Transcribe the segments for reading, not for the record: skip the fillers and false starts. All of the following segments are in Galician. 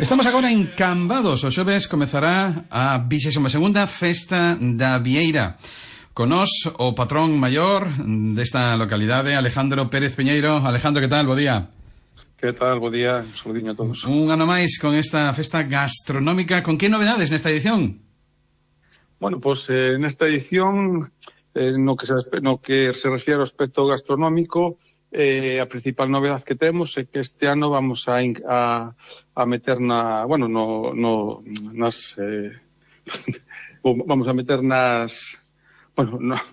Estamos agora en Cambados. O xoves comezará a 22ª Festa da Vieira. Con nos o patrón maior desta localidade, Alejandro Pérez Peñeiro. Alejandro, que tal? Bo día. Que tal? Bo día. Un saludiño a todos. Un ano máis con esta festa gastronómica. Con que novedades nesta edición? Bueno, pues nesta edición, no que se refiere ao aspecto gastronómico, a principal novedade que temos é que este ano vamos a meter vamos a meter nas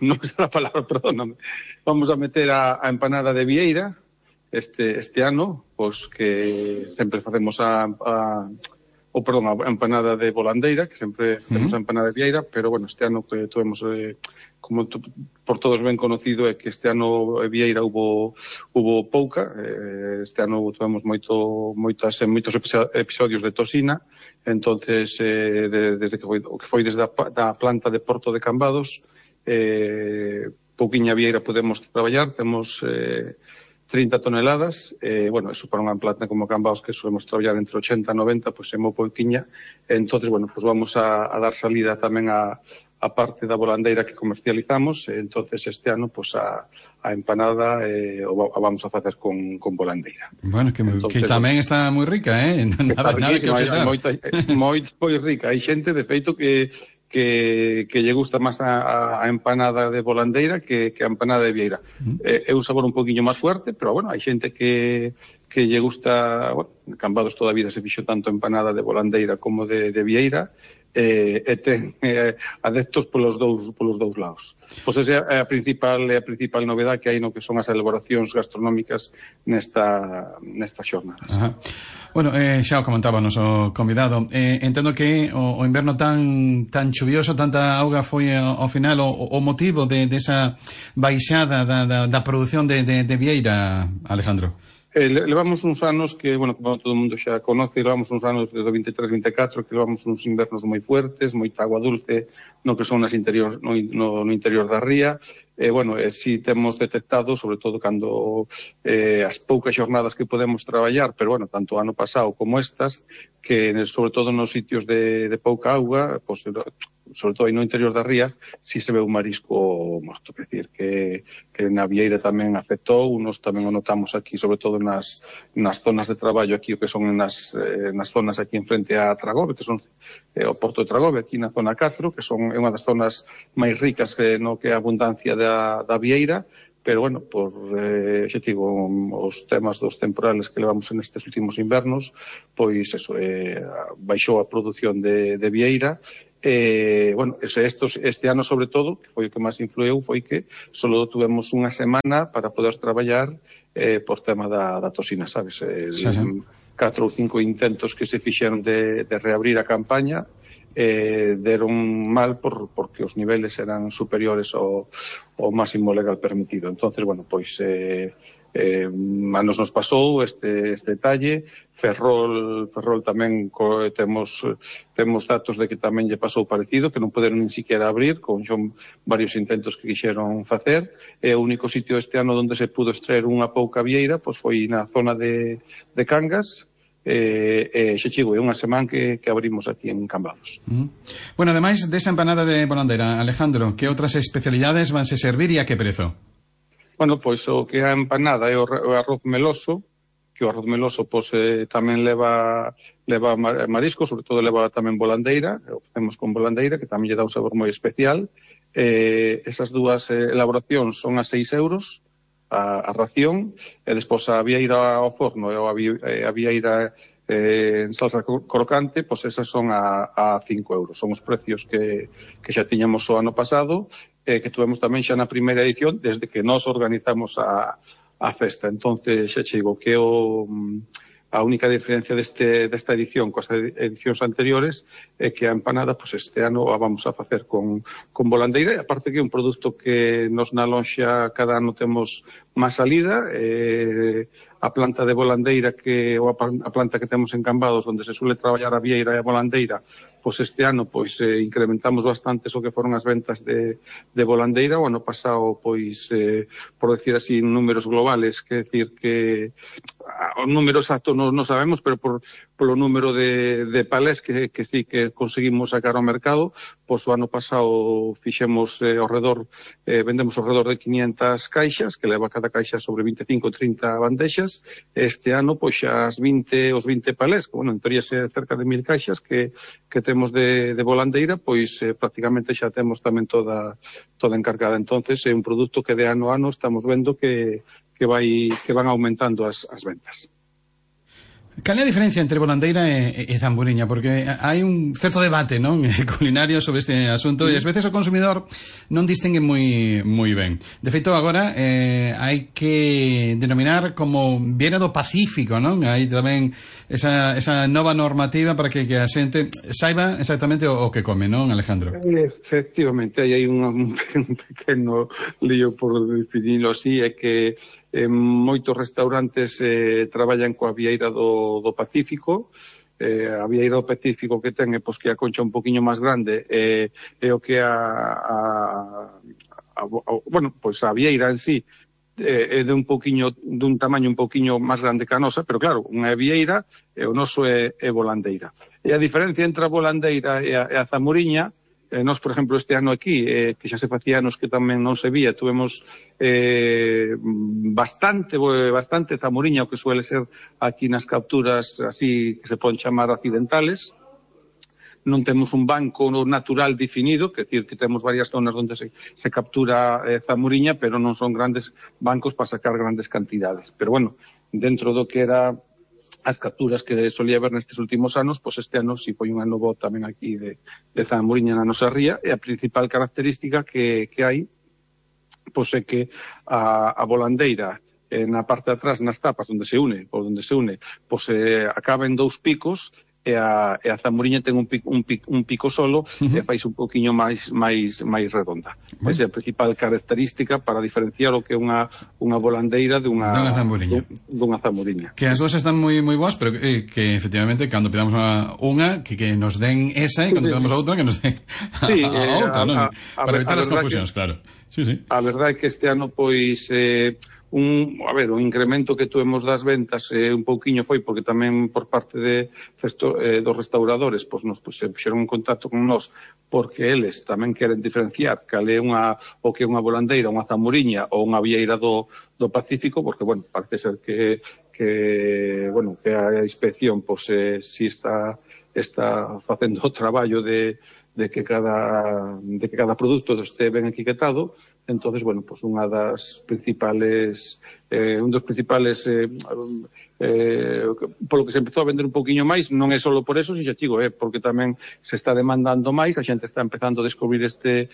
non é a palabra, perdóname, vamos a meter a empanada de Vieira este ano, pois que sempre facemos a empanada de Volandeira, que sempre temos a empanada de Vieira, pero bueno, este ano que tuvemos como por todos ben conocido é que este ano Vieira hubo pouca, este ano tuvemos moitos episodios de tosina, entonces desde que foi desde a planta de Porto de Cambados, pouquiña Vieira podemos traballar, temos 30 toneladas, bueno, eso para unha planta como Cambados que solemos traballar entre 80 e 90, pois é moi pouquiña, entonces, bueno, pois vamos a dar salida tamén a parte da volandeira que comercializamos, entonces este ano pois a empanada a vamos a facer con volandeira. Bueno, que tamén está moi rica, nada que obxectar. Moi rica, hai xente de feito que lle gusta máis a empanada de volandeira que a empanada de Vieira. É un sabor un poquinho máis fuerte, pero bueno, hai xente que lle gusta, bueno, Cambados toda a vida se fixo tanto empanada de volandeira como de Vieira, e ten adeptos polos dous lados. Pois esa é a principal novedade que hai no que son as elaboracións gastronómicas nesta xornadas. Ajá. Bueno, xa o comentaba o noso convidado, entendo que o inverno tan chuvioso, tanta auga foi ao final o motivo desa baixada da produción de Vieira, Alejandro. Levamos uns anos que, bueno, como todo o mundo xa conoce, levamos uns anos desde o 23-24 que levamos uns invernos moi fuertes, moita agua dulce no que son no interior da ría. Bueno, si temos detectado, sobre todo cando as poucas xornadas que podemos traballar, pero bueno, tanto o ano pasado como estas, que sobre todo nos sitios de pouca auga, pues, sobre todo aí no interior da ría, si se ve un marisco morto, quer decir, que na Vieira tamén afectou, nos tamén o notamos aquí, sobre todo nas zonas de traballo aquí, o que son nas zonas aquí en frente a Tragove, que son o Porto de Tragove, aquí na zona 4, que son unha das zonas máis ricas que a abundancia da Vieira, pero bueno, xa digo, os temas dos temporales que levamos nestes últimos invernos, pois eso, baixou a produción de Vieira. Bueno, este ano sobre todo, que foi o que máis influeu, foi que só tuvemos unha semana para poder traballar por tema da tosina, sabes? 4 ou 5 intentos que se fixeron de reabrir a campaña, deron mal porque os niveles eran superiores ao máximo legal permitido. Entonces, bueno, pois a nos pasou este detalle. Ferrol tamén temos datos de que tamén lle pasou parecido, que non poderon nin siquiera abrir, con varios intentos que quixeron facer. O único sitio este ano onde se pudo extraer unha pouca vieira pois foi na zona de Cangas, xa chigo, é unha semana que abrimos aquí en Cambados. Bueno, ademais desa empanada de volandeira, Alejandro, que outras especialidades vanse servir e a que prezo? Bueno, pois o que é a empanada é o arroz meloso, que o arroz meloso pois tamén leva marisco, sobre todo leva tamén volandeira, o facemos con volandeira, que tamén lle dá un sabor moi especial. Esas dúas elaboracións son a 6 euros a ración, e despois a vieira ao forno e a vieira en salsa crocante, pois esas son a 5 euros. Son os precios que xa tiñamos o ano pasado, que tuvemos tamén xa na primeira edición, desde que nos organizamos a festa. Entonces, xa che digo que a única diferencia desta edición coas edicións anteriores é que a empanada, pois este ano a vamos a facer con volandeira, e aparte que é un produto que nos na lonxa cada ano temos má salida, a planta de volandeira ou a planta que temos en Cambados, onde se suele traballar a vieira e a volandeira, pois este ano pois incrementamos bastante o que foron as ventas de volandeira. O ano pasado, pois, por decir así, números globales, que decir que o número exacto non sabemos, pero polo número de palés que sí que conseguimos sacar ao mercado, pois o ano pasado fixemos vendemos ao redor de 500 caixas, que leva cada caixa sobre 25 ou 30 bandexas. Este ano, pois xa os 20 palés, que, bueno, en teoría cerca de 1000 caixas que temos de volandeira, pois prácticamente xa temos tamén toda encargada. Entonces é un produto que de ano a ano estamos vendo que van aumentando as ventas. Cal é a diferencia entre volandeira e zamburiña? Porque hai un certo debate, non, culinario sobre este asunto, e ás veces o consumidor non distingue moi ben. De feito, agora hai que denominar como vieira do Pacífico, non? Hai tamén esa nova normativa para que a xente saiba exactamente o que come, non, Alejandro? Efectivamente, hai un pequeno lío, por definirlo así, é que moitos restaurantes traballan coa vieira do Pacífico. A vieira do Pacífico que ten é pois que a concha un poquinho máis grande, é o que bueno, pois a vieira en sí é dun tamaño un poquinho máis grande que a nosa, pero claro, unha é vieira e o noso é volandeira. E a diferencia entre a volandeira e a zamuriña, nós, por exemplo, este ano aquí, que xa se facía anos que tamén non se vía, tuvemos bastante zamuriña, o que suele ser aquí nas capturas así que se poden chamar accidentales. Non temos un banco natural definido, que decir que temos varias zonas onde se captura zamuriña, pero non son grandes bancos para sacar grandes cantidades. Pero bueno, dentro do que era as capturas que solía ver nestes últimos anos, pois este ano si foi un ano bo tamén aquí de zamuriña na nosa ría, e a principal característica que hai pois é que a volandeira na parte de atrás, nas tapas onde se une, pois acaba en dous picos, e a zamuriña ten un pico solo, e fais un poquinho máis redonda. Bueno. Esa é a principal característica para diferenciar o que é unha volandeira dunha zamuriña. Que as dúas están moi boas, pero que efectivamente, cando pidamos unha, que nos den esa, e cando pidamos a outra, que nos den a outra, non? Para evitar as confusións, claro. Sí. A verdade é que este ano, pois, o incremento que tuvemos das ventas un pouquiño foi porque tamén por parte dos restauradores se puxeron en contacto con nós, porque eles tamén queren diferenciar cal é o que é unha volandeira, unha zamuriña ou unha vieira do Pacífico, porque, bueno, parece ser que a inspección si está facendo o traballo de que cada produto este ben etiquetado. Entonces, bueno, pues un dos principales polo que se empezou a vender un poquinho máis, non é só por eso, porque tamén se está demandando máis, a xente está empezando a descubrir este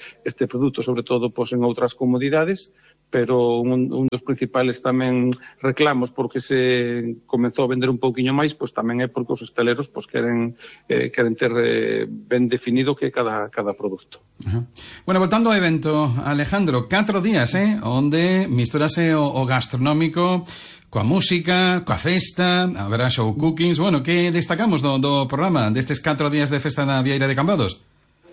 produto, sobre todo en outras comodidades, pero un dos principales tamén reclamos porque se comezou a vender un pouquiño máis, pois tamén é porque os hosteleros queren ter ben definido que cada produto. Uh-huh. Bueno, voltando ao evento, Alejandro, 4 días, onde misturase o gastronómico coa música, coa festa, haberá show cookings. Bueno, que destacamos do programa destes 4 días de festa na Vieira de Cambados?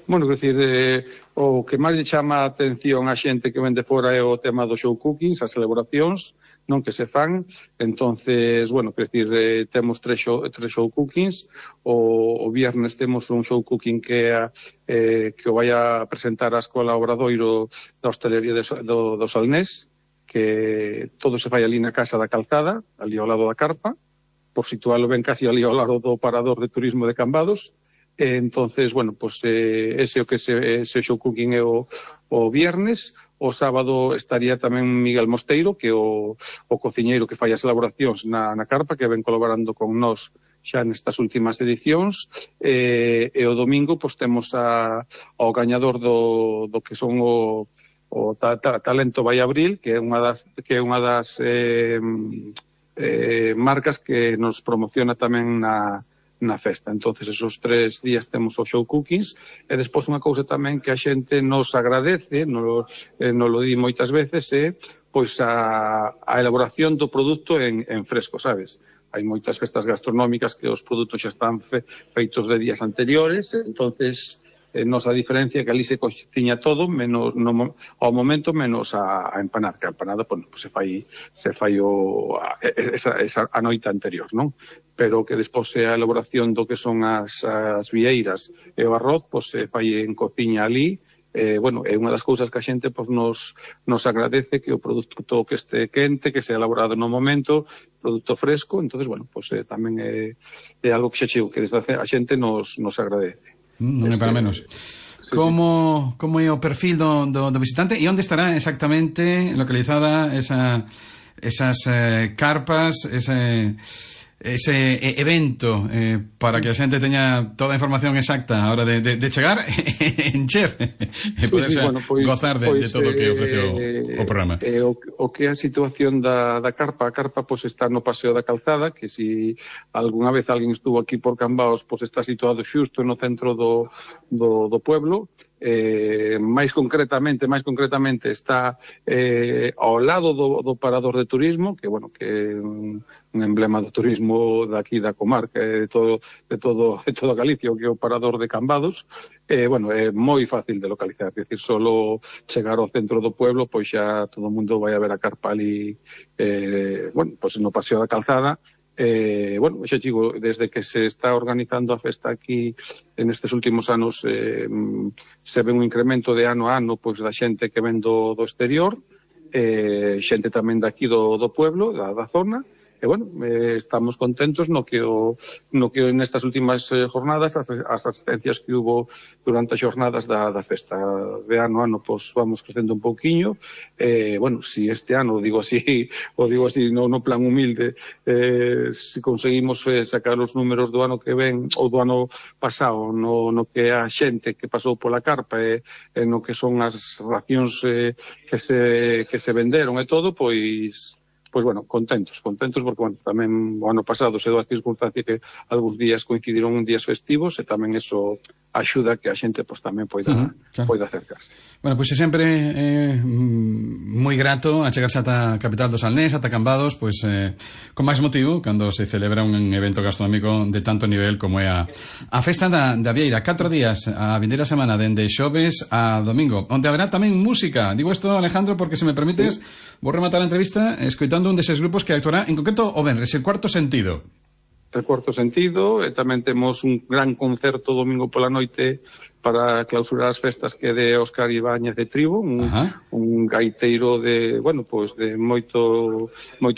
Bueno, quer dicir, o que máis lle chama a atención a xente que vende fora é o tema dos show cookings, as celebracións, non, que se fan. Entonces, bueno, quer dicir, temos tres show cookings. O viernes temos un show cooking que o vai a presentar a Escola Obradoiro da Hostelería do Salnés, que todo se fai ali na Casa da Calzada, ali ao lado da carpa, por situalo ben casi ali ao lado do parador de turismo de Cambados. Entonces, bueno, pues ese show cooking é o viernes. O sábado estaría tamén Miguel Mosteiro, que é o cociñeiro que fai as elaboracións na carpa, que ven colaborando con nós xa nestas últimas edicións. E o domingo, pues temos ao gañador do que son o Talento Vai Abril, que é unha das marcas que nos promociona tamén na festa. Entonces, esos 3 días temos o show cookings, e despois unha cousa tamén que a xente nos agradece, nos lo di moitas veces, é pois a elaboración do produto en fresco, sabes? Hai moitas festas gastronómicas que os produtos xa están feitos de días anteriores, entonces nosa diferencia é que ali se cociña todo menos ao momento menos a empanada, que a empanada pues se fai a noite anterior, non? Pero que despois a elaboración do que son as vieiras e o arroz pues se fai en cociña ali. Bueno, é unha das cousas que a xente pues, nos agradece, que o produto que este quente, que sea elaborado no momento, produto fresco, entonces bueno, pues tamén é algo que xa chego, que desde a xente nos agradece. Non é para menos. Sí, como é o perfil do visitante e onde estará exactamente localizada esas carpas, ese evento, para que a xente teña toda a información exacta a hora de chegar encher e poder gozar de todo o que ofrece o programa. O que é a situación da carpa, a carpa pues, está no Paseo da Calzada, que si algunha vez alguén estuvo aquí por Cambaos, pues, está situado xusto no centro do pueblo. máis concretamente está ao lado do parador de turismo, que bueno, que é un emblema do turismo daqui da comarca, de toda Galicia, que é o parador de Cambados. Bueno, é moi fácil de localizar, é dicir, solo chegar ao centro do pueblo, pois xa todo o mundo vai a ver a carpa ali, bueno, pois no Paseo da Calzada. Bueno, xa digo, desde que se está organizando a festa aquí nestes últimos anos se ve un incremento de ano a ano pois da xente que ven do exterior, xente tamén daqui do pueblo, da zona. E, bueno, estamos contentos no que nestas últimas jornadas, as asistencias que hubo durante as jornadas da festa de ano a ano, pois vamos crecendo un pouquiño. Bueno, si este ano, digo así no plan humilde, si conseguimos sacar os números do ano que ven, ou do ano pasado, no que a xente que pasou pola carpa, no que son as racións que se venderon e todo, pois bueno, contentos, porque bueno, tamén o ano pasado se deu a circunstancia que algúns días coincidiron en días festivos e tamén eso axuda que a xente pues, tamén poida acercarse. Bueno, pois é sempre moi grato achegarse ata a capital do Salnés, ata Cambados, pois con máis motivo cando se celebra un evento gastronómico de tanto nivel como é a Festa da Vieira. 4 días a vindeira semana, dende xoves a domingo, onde haberá tamén música. Digo isto, Alejandro, porque se me permites, vou rematar a entrevista escoitando un deses grupos que actuará en concreto o venres, el Cuarto Sentido. El Cuarto Sentido, e tamén temos un gran concerto domingo pola noite para clausurar as festas, que é de Óscar Ibáñez de Tribo, un gaiteiro de, bueno, pues de moito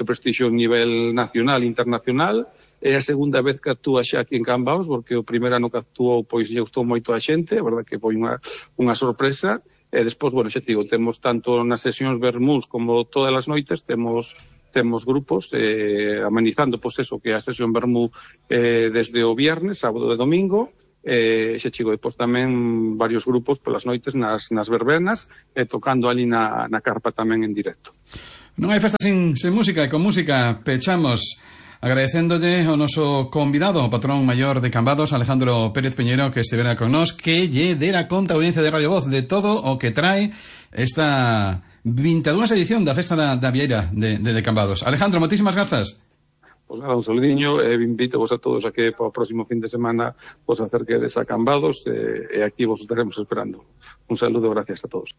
prestixio a nivel nacional e internacional. É a segunda vez que actúa xa aquí en Cambaos, porque o primeiro ano que actuou pois lle gustou moito a xente, a verdad que foi unha sorpresa. E despois, bueno, xa digo, temos tanto nas sesións vermús como todas as noites, temos grupos amenizando pois eso, que é a sesión vermú desde o viernes, sábado e domingo. Xa chigo, depois tamén varios grupos polas noites nas verbenas, tocando ali na carpa tamén en directo. Non hai festa sin música, e con música pechamos agradecéndolle ao noso convidado, o patrón maior de Cambados, Alejandro Pérez Peñeiro, que estivera con nós, que lle dera conta a audiencia de Radio Voz de todo o que trae esta 22ª edición da Festa da Vieira de Cambados. Alejandro, moitísimas grazas. Pois nada, un saludiño, invito vos a todos a que para o próximo fin de semana vos acerquedes a Cambados, e aquí vos estaremos esperando. Un saludo, gracias a todos.